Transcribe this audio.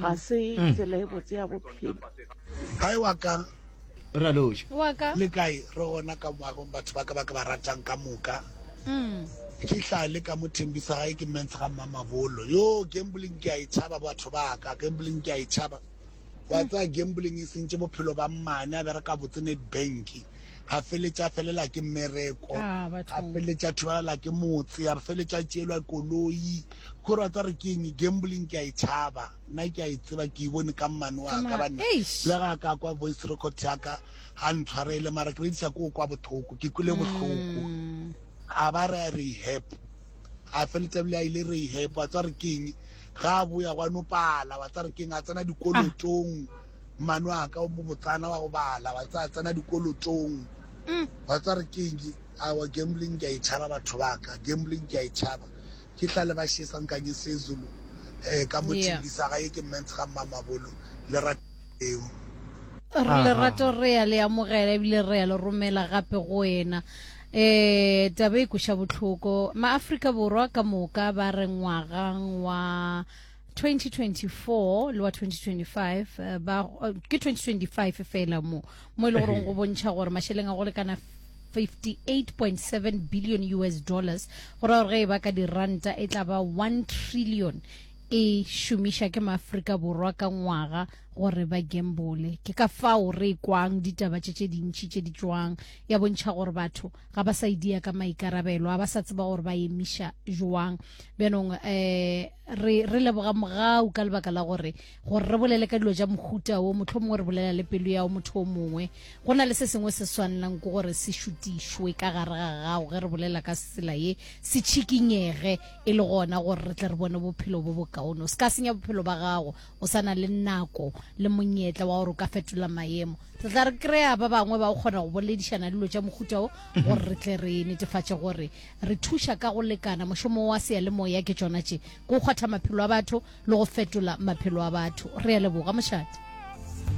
Ga se tsela e botse ya bophelo. Hi wa ka. Re a loša. Wa ka. Le kae? Re gona ka moagong batho ba ka ba ke ba ratang ka moka. Ke hlale ka mo Thembisa gae ke mens ga Mmamabolo. Yo gambling ke a e tšhaba batho ba ka. Gambling ke a e tšhaba. Wa tsaya gambling e sentše bophelo ba mmane a bereka botse Nedbank. Ga feletša a felela ke mmereko. Ah, Ga bathong. feletša a thubalala ke motse. A feletša a tšeelwa koloi. Kore wa tseba re ke eng? Gambling ke a e tšhaba. Nna ke a e tseba, ke e bone ka mmane wa ka banna. Eish. Le ga a ka kwa voice record ya ka, ga ntshwarele mara ke bediša ko kwa bohloko, ke kwele bohloko. A ba re a rehab. A feletša bile a ile rehab, wa tseba re ke eng? Ga a boya gwa no pala, wa tseba re ke eng? A tsena dikolotong. Mmane wa ka o mo botsana wa go bala, wa tseba a tsena dikolotong. Wa tseba re ke eng? Aowa gambling ke a e tšhaba batho ba ka, gambling ke a e tšhaba. Ke hlale ba šesa nkanye sezulu eh ka mo Yeah. Thembisa ga ye ke mens ga Mmamabolo lerato leo. Re lerato re ya le amogela ebile re ya le romela gape go wena um taba e kweša bohloko maafrika borwa ka moka ba re ngwagang wa 2024 le wa 2025 eh, ba eh, ke 2025 fela mo mo e le goreng go bontšha gore mašeleng a go lekana 58.7 billion US dollars go ra gore ge e ba ka diranta e tla ba 1 trillion e šomiša ke maafrika borwa ka ngwaga gore ba gambole ke ka fao re kwang ditaba tše tše dintši tše di tšwang ya bontšha gore batho ga ba sa idia ka maikarabelo ga ba sa tseba gore ba emiša jwang bjanong um re re leboga mogau ka lebaka la gore gore re bolele ka dilo tša mohuta wo mohlomongwe re bolela le pelo ya motho o mongwe Go na le se sengwe se swanelang ke gore se šutišwe ka gare ga gago ge re bolela ka tsela ye, se tšhikinyege e le gona gore re tle re bone bophelo bo bokaone. O se ka senya bophelo ba gago, o sa na le nako le monyetla wa gore o ka fetola maemo. Re tla re kry-a ba bangwe ba go kgona go boledišana dilo tša mohuta wo gore re tle re netefatše gore re thuša ka go lekana. Mošomo wa seyalemoya ke tšona tše, ke go kgwatha maphelo a batho le go fetola maphelo a batho. Re a leboga, mošate.